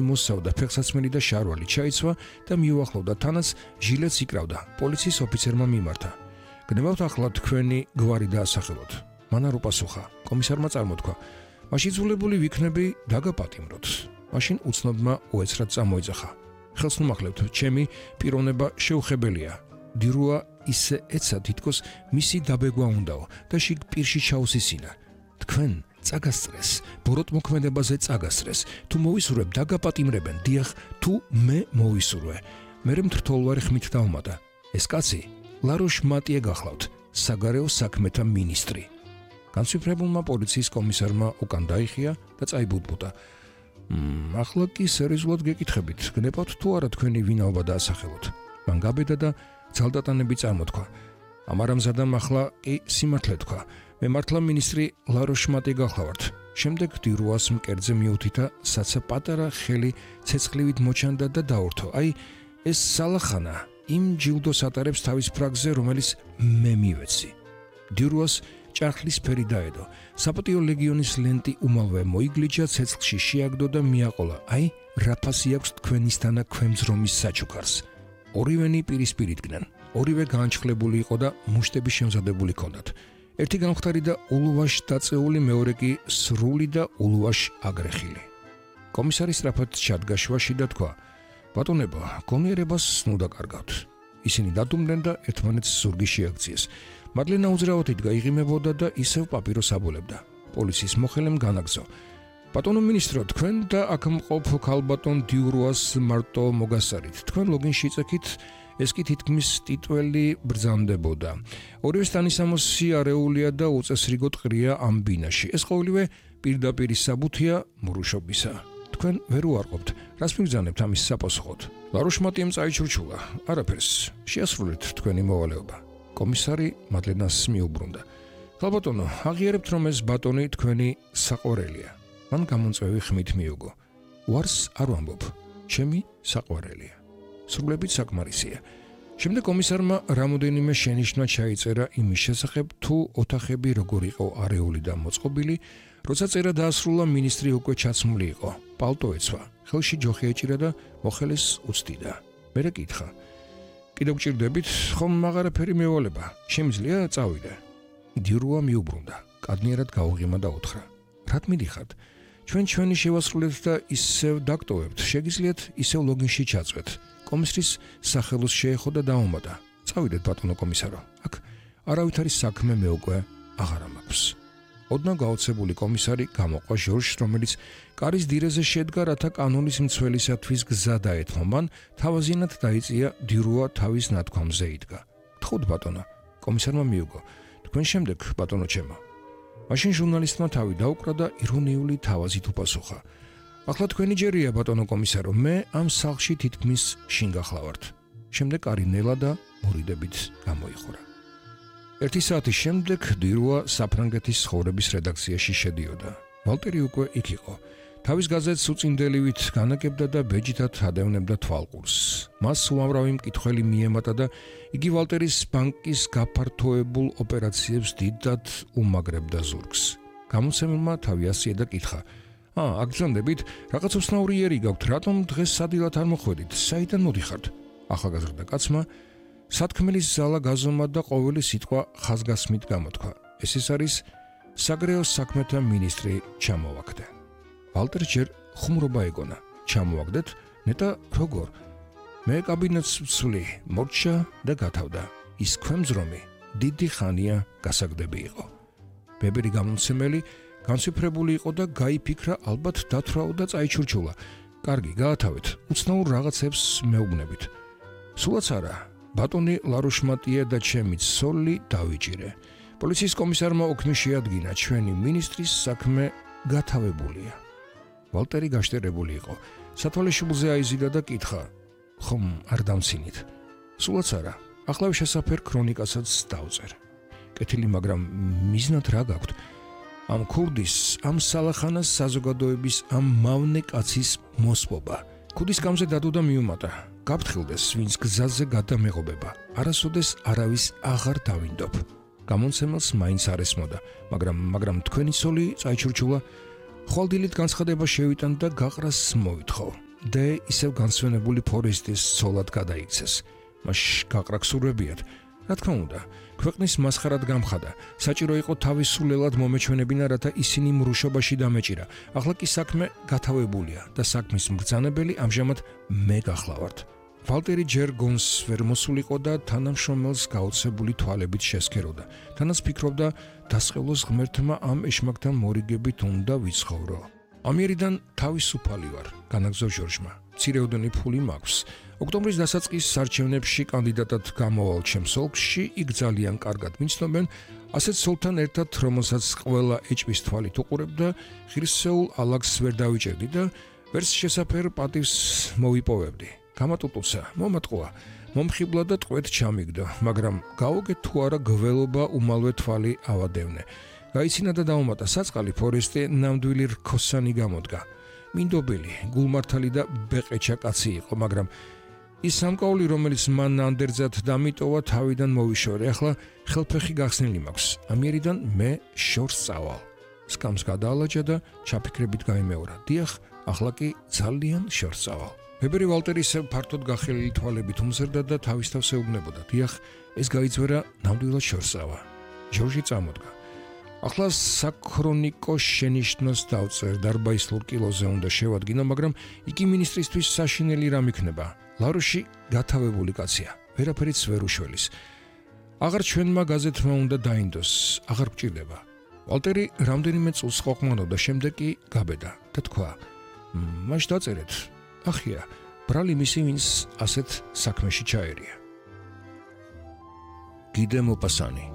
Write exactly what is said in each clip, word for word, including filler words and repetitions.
იმოსავდა ფეხსაცმელი და შარვალი ჩაიცვა და მიუახლოვდა თანაც ჟილეტს იკრავდა. პოლიციის ოფიცერმა მიმართა. გნებავთ ახლა თქვენი გვარი დაასახელოთ. მან არ უპასუხა. კომისარმა წარმოთქვა. მაშინ ძულებული ვიქნები დაგაპატიმროთ. მაშინ უცნობმა უეცრად წამოიძახა. ხელს ნუმახლებთ, ჩემი პიროვნება შეუხებელია. დირუა ისე ეცა თითქოს მისი დაბეგვა უნდაო და შიგ პირში ჩაუსისინა. თქვენ წაგასწრეს, ბოროტმოქმედებაზე წაგასწრეს. თუ მოვისურვებ დაგაპატიმრებენ, დიახ, თუ მე მოვისურვე. მერე მთრთოლვარი ხმით დაუმატა. ეს კაცი ლაროშ მატიე გახლავთ, საგარეო საქმეთა მინისტრი. განსვიფრებულმა პოლიციის კომისარმა უკან დაიხია და წაიბუდბუდა. მ ახლა კი სერიოზულად გეკითხებით, გნებავთ თუ არა თქვენი ვინაობა დაასახელოთ. მან გაბედა და ძალდატანები წარმოთქვა. ამარამზადამ ახლა კი სიმართლე თქვა. მე მართლა მინისტრი ლაროშ მატიე გახლავართ. შემდეგ დირუას მკერდზე მიუთითა, საცა პატარა ხელი ცეცხლივით მოჩანდა და დაურთო. აი, ეს სალახანა იმ ჯილდოს ატარებს თავის ფრაგზე, რომელიც მე მივეცი. დირუას ჭარხლის ფერი დაედო. საპატიო ლეგიონის ლენტი უმალვე მოიგლიჯა, ცეცხლში შეაგდო და მიაყოლა. აი, რა ფასი აქვს თქვენისთანა ქვემძრომის საჩუქარს. ორივენი პირისპირ იდგნენ. ორივე განჩხლებული იყო და მუშტები შემზადებული ჰქონდათ. ერთი გამხდარი და ულუვაშ დაწეული, მეორე კი სრული და ულუვაშ აგრეხილი. კომისარი სწრაფად ჩადგა შუაში და თქვა: ბატონებო, გონიერებას ნუ დაკარგავთ. ისინი დადუმდნენ და ერთმანეთს ზურგი შეაქციეს. მადლენა უძრავად გაიღიმებოდა და ისევ პაპიროს აბოლებდა. პოლიციის მოხელემ განაგზო. ბატონო მინისტრო, თქვენ და აქ მყოფ ქალბატონ დიურუას მარტო მოგასარით. თქვენ ლოგინში იწექით, ეს კი თითქმის ტიტველი ბრძანდებოდა. ორივე სტანისამოსი არეულია და უწესრიგოდ ყრია ამ ბინაში. ეს ყოველივე პირდაპირ საბუთია მურუშობისა. თქვენ ვერ უარყოფთ, რას მიგზავნებთ ამის საპასუხოდ? ლაროშ მატიემ წაიჩურჩულა. არაფერს, შეასრულეთ თქვენი მოვალეობა. კომისარი მადლენას მიუბრუნდა. ქალბატონო, აღიარებთ, რომ ეს ბატონი თქვენი საყვარელია. მან გამომწვევი ხმით მიუგო. უარს არ ვამბობ, ჩემი საყვარელია. სრულებით საკმარისია. შემდეგ კომისარმა რამოდენიმე შენიშვნა ჩაიწერა იმის შესახებ, თუ ოთახები როგორ იყო არეული და მოწყობილი, როცა წერა დაასრულა, მინისტრი უკვე ჩაცმული იყო. პალტო ეცვა, ხელში ჯოხი ეჭირა და მოხელეს უცდიდა. მერე კითხა: კიდევ გჭირდებით, ხომ აღარაფერი მევალება, შემიძლია წავიდე? დირუა მიუბრუნდა, კადნიერად გაუღიმა და უთხრა: რად მიდიხართ? ჩვენ ჩვენი შევასრულეთ და ისევ დაგტოვებთ, შეგიძლიათ ისევ ლოგინში ჩაწვეთ. კომისრის სახელოს შეეხო და დაუმატა: წავიდეთ ბატონო კომისარო, აქ არავითარი საქმე მე უკვე აღარ მაქვს. ოდნავ გაოცებული კომისარი გამოყვა ჟორჟს, რომელიც კარის დირეზე შედგა, რათა კანონის მცველისათვის გზა დაეთმო. მან თავაზიანად დაიწია, დირუა თავის ნათქვამზე იდგა. თხოთ ბატონო, კომისარმა მიუგო. თქვენ შემდეგ ბატონო ჩემო. მაშინ ჟურნალისტმა თავი დაუკრა და ირონიული თავაზით უპასუხა: ახლა თქვენი ჯერია ბატონო კომისარო, მე ამ სახლში თითქმის შინ გახლავართ. შემდეგ კარი ნელა და მორიდებით გამოიხურა. ერთი საათის შემდეგ დირუა საფრანგეთის ცხოვრების რედაქციაში შედიოდა. ვალტერი უკვე იქ იყო. თავის გაზეთს უწინდელივით განაკებდა და ბეჯითად ადევნებდა თვალყურს. მას უამრავი მკითხველი მიემატა და იგი ვალტერის ბანკის გაფართოებულ ოპერაციებს დიდად უმაგრებდა ზურგს. გამოცემულმა თავი ასია და კითხა: ა, აგზანდებით, რაღაც უცნაური იერი გაქვთ, რატომ დღეს სადილად არ მოხვედით? საიდან მოდიხართ? ახალგაზრდა კაცმა სათქმელის ზალა გაზომა და ყოველი სიტყვა ხაზგასმით გამოთქვა. ეს ის არის საგარეო საქმეთა მინისტრი ჩამოვაგდე. ვალტერ ჯერ ხუმრობა ეგონა. ჩამოვაგდეთ, ნეტა როგორ? მე კაბინეტს ვცვლი, მორჩა და გათავდა. ის ქვემძრომი დიდი ხანია გასაგდები იყო. ბებერი გამომცემელი განსვიფრებული იყო და გაიფიქრა, ალბათ დათვრაო და წაიჩურჩულა. კარგი, გაათავეთ, უცნაურ რაღაცებს მეუბნებით. სულაც არა, ბატონი ლაროშ მატიე და ჩემი ცოლი დავიჭირე. პოლიციის კომისარმა ოქმი შეადგინა, ჩვენი მინისტრის საქმე გათავებულია. ვალტერი გაშტერებული იყო. სათვალეშუბლზე აიზიდა და კითხა: ხომ არ დამცინით? სულაც არა, ახლა შესაფერ ქრონიკასაც დავწერ. კეთილი, მაგრამ მიზნად რა გაქვთ? ამ ქურდის, ამ სალახანას საზოგადოების, ამ მავნე კაცის მოსპობა. ქუდის გამზე დადო და მიუმატა. გაფრთხილდეს, ვინც გზაზე გადამეღობება. არასოდეს არავის აღარ დავინდობ. გამომცემელს მაინც არ ესმოდა, მაგრამ მაგრამ თქვენი ცოლი წაიჩურჩულა. ხვალდილით განცხადება შევიტან და გაყრას მოვითხოვ. და ისევ განსვენებული ფორესტის ცოლად გადაიქცეს. მას გაყრა გსურვებიათ. რა თქმა უნდა, ქვეყნის მასხარად გამხადა. საჭირო იყო თავისულელად მომეჩვენებინა, რათა ისინი მრუშობაში დამეჭირა. ახლა კი საქმე გათავებულია და საქმის მბრძანებელი ამჟამად მე გახლავართ. ვალტერი ჯერ გონს ვერ მოსულიყო და თანამშრომელს გაოცებული თვალებით შესქეროდა. თანაც ფიქრობდა, დასყევლოს ღმერთმა ამ ეშმაკთან მორიგებით უნდა ვიცხოვრო. ამიერიდან თავისუფალი ვარ, განაგზო ჟორჟმა. მცირეოდენი ფული მაქვს. ოქტომბრის დასაწყის სარჩევნებში კანდიდატად გამოვალ ჩემს ოლქში, იქ ძალიან კარგად მიცნობენ, ასეთ სოლთან ერთად, რომელსაც ყველა ეჭვის თვალით უყურებდა, ღირსეულ ალაგს ვერ დავიჭერდი და ვერც შესაფერ პატივს მოვიპოვებდი. გამატუტუცა, მომატყუა, მომხიბლა და ტყვედ ჩამიგდო, მაგრამ გაუგეთ თუ არა გველობა უმალვე თვალი ავადევნე. გაიცინა და დაუმატა საწყალი ფორესტი ნამდვილი რქოსანი გამოდგა. მინდობელი, გულმართალი და ბეყეჩა კაცი იყო, მაგრამ ის სამკაული, რომელიც მან ანდერძად დამიტოვა, თავიდან მოვიშორე. ახლა ხელფეხი გახსნილი მაქვს. ამიერიდან მე შორს წავალ. სკამს გადაალაჯა და ჩაფიქრებით გაიმეორა. დიახ, ახლა კი ძალიან შორს წავალ. ვებერი ვალტერი ისევ ფართოდ გახელილი თვალებით უმზერდა და თავის თავს ეუბნებოდა. დიახ, ეს გაიძვერა ნამდვილად შორს წავა. ჟორჟი წამოდგა. ახლა საქრონიკო შენიშვნას დავწერ, დარბაისლურ კილოზე უნდა შევადგინო, მაგრამ იგი მინისტრისთვის საშინელი რამ იქნება. ლაროში გათავებული კაცია, ვერაფერიც ვერ უშველის. აღარ ჩვენმა გაზეთმა უნდა დაინდოს, აღარ გჭირდება. ვალტერი რამდენიმე წუთს ყოყმანობდა, შემდეგ კი გაბედა და თქვა: "მაშ დაწერეთ. ახია, ბრალი მისი, ვინც ასეთ საქმეში ჩაერია." გიდე მოპასანი,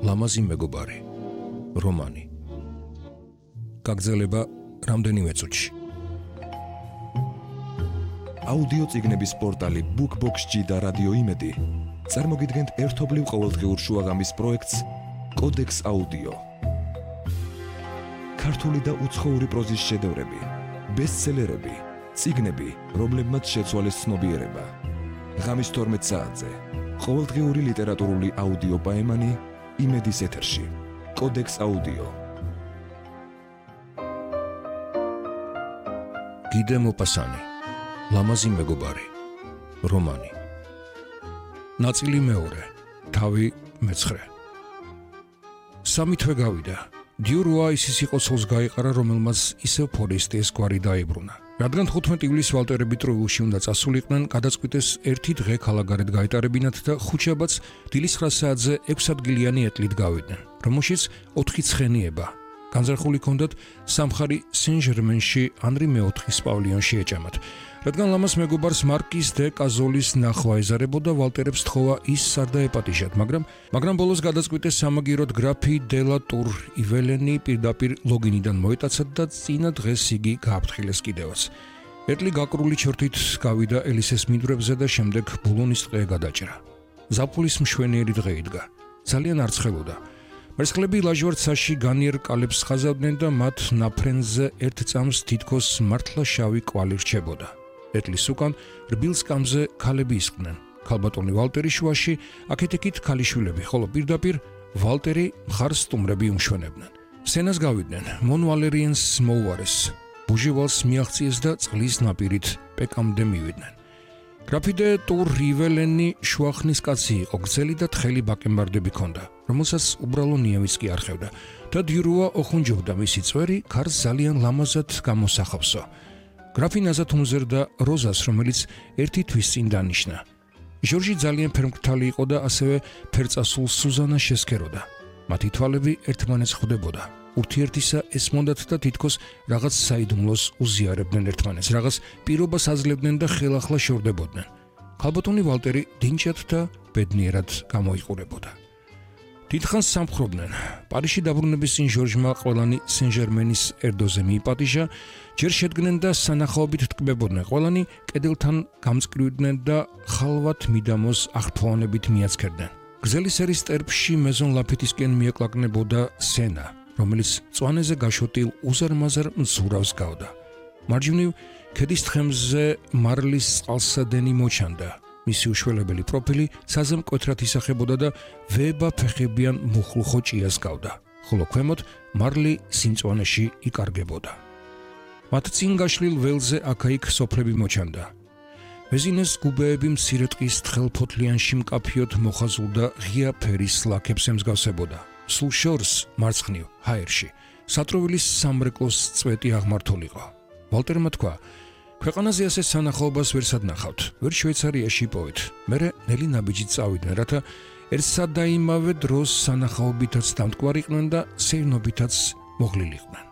ლამაზი მეგობარი. რომანი. გაგრძელება რამდენიმე წუთში. აუდიო წიგნების პორტალი BookBox-ში და რადიო იმედი წარმოგიდგენთ ერთობლივ ყოველდღიურ შუაღამის პროექტს კოდექს აუდიო. ქართული და უცხოური პროზის შედევრები, ბესტსელერები, წიგნები, რომლებმაც შეცვალეს ცნობიერება. ღამის თორმეტ საათზე ყოველდღიური ლიტერატურული აუდიო პაემანი იმედის ეთერში. კოდექს აუდიო. გიდე მოპასანი, ლამაზი მეგობარი. რომანი. ნაწილი მეორე, თავი მეცხრე. სამი თვე გავიდა. დიურუა ისის იყო ცოლს გაიყარა, რომელმაც ისევ ფორესტის გვარი დაებრუნა. რადგან თხუთმეტი ივლისს ვალტერები ტროილში უნდა წასულიყვნენ, გადაწყვიტეს ერთი დღე ქალაქგარეთ გაეტარებინათ და ხუთშაბათს დილის ცხრა საათზე ექვსადგილიანი ეტლით გავიდნენ, რომელშიც ოთხი ცხენიება. განზრახული ჰქონდათ სამხარი სენ-ჟერმენში ანრი მეოთხის პავილიონში ეჭამათ. რადგან ლამაზ მეგობარს მარკიზ დე კაზოლის ნახვა ეზარებოდა, ვალტერებს თხოვა ის არ დაეპატიჟათ, მაგრამ მაგრამ ბოლოს გადაწყვიტეს სამაგიეროდ გრაფი დე ლა ტურ იველენი პირდაპირ ლოგინიდან მოეტაცათ და წინა დღეს იგი გააფრთხილეს კიდევაც. ეტლი გაკრული ჩორთით გავიდა ელისეს მინდვრებზე და შემდეგ ბულონის ტყე გადაჭრა. ზაფხულის მშვენიერი დღე იდგა. ძალიან არცხელოდა. მერცხლები ლაჟვარდ საში განიერ კალებს ხაზავდნენ და მათ ნაფრენზე ერთ წამს თითქოს მართლა შავი კვალი რჩებოდა. ეტლის უკან რბილ სკამზე ქალები ისყდნენ. ქალბატონი ვალტერი შუაში, აქეთ-იქით ქალიშვილები, ხოლო პირდაპირ ვალტერი მხარს სტუმრები უმშვენებდნენ. სენას გავიდნენ, მონ ვალერიენს მოუარეს, ბუჟივალს მიაღწიეს და წყლის ნაპირით პეკამდე მივიდნენ. გრაფი დე ტურ იველენი შუახნის კაცი იყო, გრძელი და თხელი ბაკენბარდები ჰქონდა, რომელსაც უბრალო ნიავიც კი არ ხევდა და დიურუა ოხუნჯობდა მისი წვერი ქარს ძალიან ლამაზად გამოსახავსო. გრაფი ნაზად უმზერდა როზას, რომელიც ერთი თვის წინ დანიშნა. ჟორჟი ძალიან ფერმკრთალი იყო და ასევე ფერწასულ სუზანას შესქეროდა. მათი თვალები ერთმანეთს ხვდებოდა. ურთიერთისა ესმოდათ და თითქოს რაღაც საიდუმლოს უზიარებდნენ ერთმანეთს, რაღაც პირობას აძლევდნენ და ხელახლა შორდებოდნენ. ქალბატონი ვალტერი დინჭად და ბედნიერად გამოიყურებოდა. დიდხანს სამხრობდნენ. პარიზში დაბრუნების წინ ჟორჟმა ყველანი სენ-ჟერმენის ერდოზე მიიპატიჟა, ჯერ შედგნენ და სანახაობით ტკბებოდნენ. ყველანი კედელთან გამწკრივდნენ და ხალვათ მიდამოს აღფრთოვანებით მიაცქერდნენ. გრძელი სერის ტერფში მეზონ ლაფიტისკენ მieklakneboda სენა, რომელიც წვანეზე გაშოტილ უზარმაზარ მზურავს გავდა. მარჯვნივ ქედის თხემზე მარლის წყალსადენი მოჩანდა. მისი უშველებელი პროფილი საზემ მკვეთრად ისახებოდა და ვება ფეხებიან მუხლუხო ჭიას გავდა, ხოლო ქვემოთ მარლი სიმწვანეში იკარგებოდა. მათ წინ გაშლილ ველზე აქა-იქ სოფლები მოჩანდა. მეზინეს გუბეები მცირე ტყის თხელფოთლიანში მკაფიოდ მოხაზულ და ღია ფერის ლაქებს ემსგავსებოდა. სულ შორს მარცხნივ ჰაერში სატროვილის სამრეკლოს წვეტი აღმართულიყო. ვალტერმა თქვა: ქვეყანაზე ასე სანახაობას ვერ სადნახავთ, ვერ შვეიცარიაში იპოვეთ. მერე ნელი ნაბიჯით წავიდნენ, რათა ერთსა და იმავე დროს სანახაობითაც დამტკვარიყვნენ და სეირნობითაც მოღლილიყვნენ.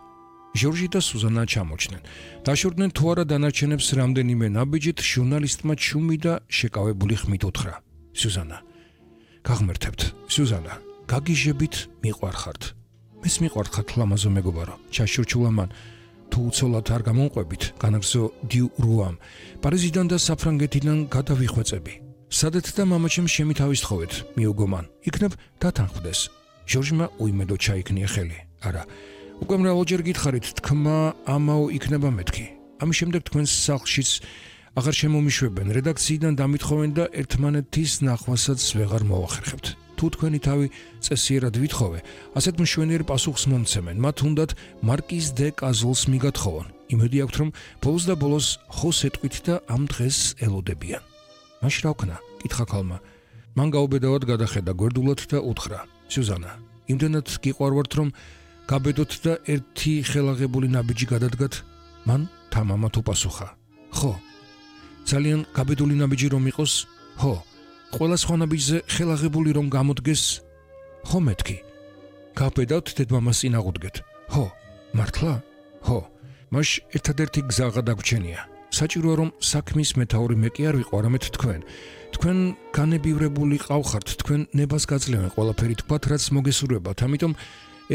ჟორჟი და სუზანა ჩამოჩნდნენ. დაშორდნენ თუ არა დანარჩენებს რამდენიმე ნაბიჯით, ჟურნალისტმა ჩუმი და შეკავებული ხმით უთხრა: სუზანა, გაღმერთებთ, სუზანა, გაგიჟებით, მიყვარხართ. მეს მიყვარხართ ლამაზო მეგობარო, ჩაშურჩულა მან. თუ უცოლად არ გამონყვებით, განაგზო დიუ რუამ, პარიზიდან და საფრანგეთიდან გადავიხვეწები. სადეთ და მამაჩემ შემითავისთხოვეთ, მიუგო მან, იქნებ დათანხმდეს. ჟორჟმა უიმედო ჩაიქნია ხელი. არა, უკვე მრავალჯერ გითხარით, თქმა ამაო იქნება მეთქი. ამის შემდეგ თქვენს სახლშიც აღარ შემომიშვებენ, რედაქციიდან დამითხოვენ და ერთმანეთის ნახვასაც ვეღარ მოვახერხებთ. თუ თქვენი თავი წესიერად ვითხოვე, ასეთ მშვენიერ პასუხს მომცემენ, მათ უნდათ მარკიზ დე კაზოლს მიგათხოვონ. იმედი აქვთ, რომ ბოლოს და ბოლოს ხოს ეტყვით და ამ დღეს ელოდებიან. მაშ რა ვქნა? კითხა ქალმა. მან გაუბედავად გადახედა გვერდულად და უთხრა: სუზანა, იმდენად გიყვარვართ, რომ გაბედოთ და ერთი ხელაღებული ნაბიჯი გადადგათ? მან თამამად უპასუხა: ხო. ძალიან გაბედული ნაბიჯი რომ იყოს? ხო. ყველა სხვა ნაბიჯზე ხელაღებული რომ გამოდგეს? ხო მეთქი. გაბედავთ დედმამას წინ აღუდგეთ? ხო. მართლა? ხო. მაშ ერთადერთი გზა გადაგვრჩენია. საჭიროა რომ საქმის მეთაური მე კი არ ვიყო, არამედ თქვენ. თქვენ განებივრებული ყავხართ, თქვენ ნებას გაძლევენ ყველაფერი თქვათ, რაც მოგესურვებათ, ამიტომ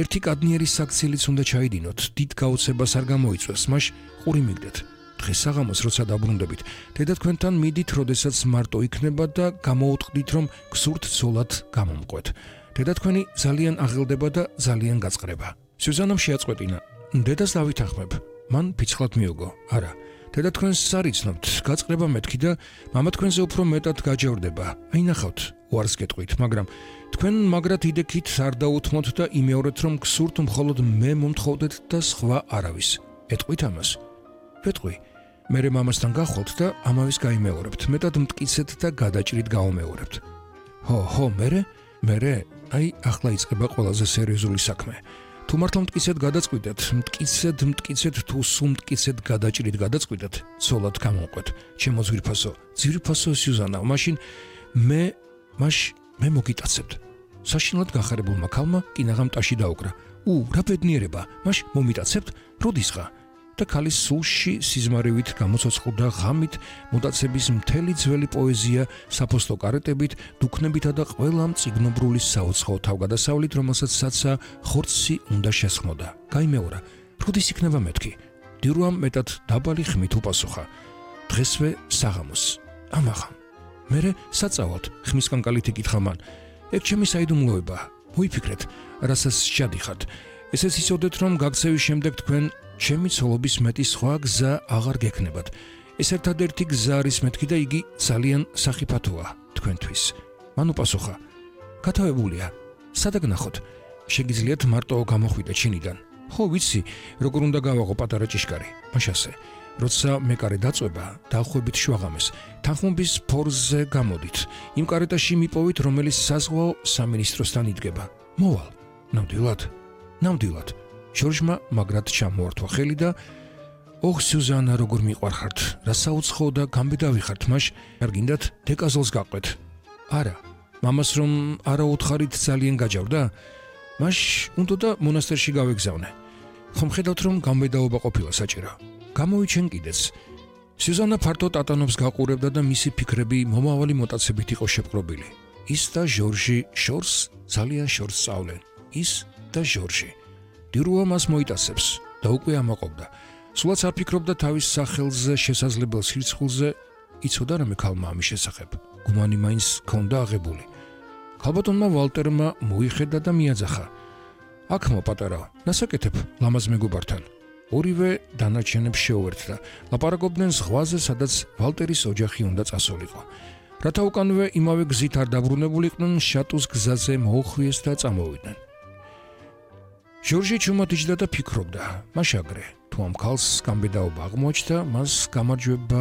ერთი კადნიერი საქციელიც უნდა ჩაიდინოთ, დიდ გაოცებას არ გამოიწვევს, მაშ ყური მიგდეთ. დღეს საღამოს როცა დაბრუნდებით, დედა თქვენთან მიდით, როდესაც მარტო იქნება და გამოუტყდით, რომ გსურთ ცოლად გამომყვეთ. დედა თქვენი ძალიან აღელდება და ძალიან გაწყრება. სუზანამ შეაწყვეტინა: დედას დავითანხმებ. მან ფიცხლად მიუგო: არა, დედა თქვენს არ იცნობთ, გაწყრება მეთქი და მამა თქვენზე უფრო მეტად გაჯევრდება. აი ნახავთ, უარს გეტყვით, მაგრამ თქვენ მაგრად იდექით არ დაუთმოთ და იმეორეთ, რომ გსურთ მხოლოდ მე მომთხოვდეთ და სხვა არავის. ეტყვით ამას? ვეტყვი. მერე მამასთან გახვალთ და ამავის გაიმეორებთ, მეტად მტკიცეთ და გადაჭრით გაუმეორებთ. ხო, ხო, მერე? მერე, აი ახლა იწყება ყველაზე სერიოზული საქმე. თუ მართლა მტკიცეთ გადაწყვიტეთ, მტკიცეთ, მტკიცეთ, თუ სულ მტკიცეთ გადაჭრით გადაწყვიტეთ, ცოლად გამოვყვეთ. ჩემო ძვირფასო, ძვირფასო სუზანა, მაშინ მე, მაშ მე მოგიტაცებთ. საშინლად გახარებულმა ქალმა კინაღამ ტაში დაუკრა. უ, რა ბედნიერება, მაშ მომიტაცებთ, როდისღა? და ქალის სულში სიზმარივით გამოცოცხლდა ღამით მოტაცების მთელი ძველი პოეზია საფოსტო კარეტებით, დუქნებითა და ყველა მწიგნობრული საუცხოო თავგადასავლით, რომელსაც საცა ხორცი უნდა შესხმოდა. გაიმეორა, როდის იქნება მეთქი? დიურუამ მეტად დაბალი ხმით უპასუხა: დღესვე საღამოს. ამაღამ. მერე საწავად, ხმის კანკალით იკითხა მან: ეგ ჩემი საიდუმლოება. მოიფიქრეთ, რასაც შეადიხართ. ესეც იცოდეთ, რომ გაქცევის შემდეგ თქვენ ჩემი ცოლობის მეტი სხვა გზა აღარ გექნებათ. ეს ერთადერთი გზა არის მეთქი და იგი ძალიან სახიფათოა თქვენთვის. მან უპასუხა: გათავებულია. სადაგნახოთ? შეგიძლიათ მარტო გამოხვიდეთ შინიდან. ხო, ვიცი, როგორ უნდა გავაღო პატარა ჭიშკარი. მაშასე, როცა მეკარე დაწვება, დახვებით შვაღამეს, თანხმობის ფორზე გამოდით. იმ კარეტაში მიპოვით, რომელიც საზღვაო სამინისტროსთან იდგება. მოვალ. ნამდვილად? ნამდვილად. ჟორჟმა მაგრად ჩამოართვა ხელი და ოხ სუზანა, როგორ მიყვარხართ, რა საუცხოო და გამბედავი ხართ, მაშ არ გინდათ დეკაზოლს გაყვეთ? არა. მამას რომ არა უთხარით ძალიან გაჯავდა? მაშ უნდა და მონასტერში გავეგზავნე. ხომ ხედავთ, რომ გამბედაობა ყოფილა საჭირო. გამოვიჩენ კიდეც. სუზანა ფართო ტატანობს გაყურებდა და მისი ფიქრები მომავალი მოტაცებით იყო შეპყრობილი. ის და ჟორჟი შორს ძალიან შორს სწავლენ. ის და ჟორჟი. დიურუა მას მოიტაცებს და უკვე ამაყობდა. სულაც არ ფიქრობდა თავის სახელზე შესაძლებელ სირცხულზე, იცოდა რამე ქალმა ამის შესახებ. გუმანი მაინც ჰქონდა აღებული. ქალბატონმა ვალტერმა მოიხედა და მიაძახა: აქ მოპატარა, ნასაკეთებ ლამაზ მეგობართან. ორივე დანარჩენებს შეუერთდა. ლაპარაკობდნენ ზღვაზე, სადაც ვალტერის ოჯახი უნდა წასულიყო. რათა უკანვე იმავე გზით არ დაბრუნებულიყვნენ, შატუს გზაზე მოუხვიეს და წამოვიდნენ. ჟორჟი ჩუმად იჯდა და ფიქრობდა. მაშ აგრე, თუ ამ ქალს გამბედაობა აღმოაჩნდა, მას გამარჯვება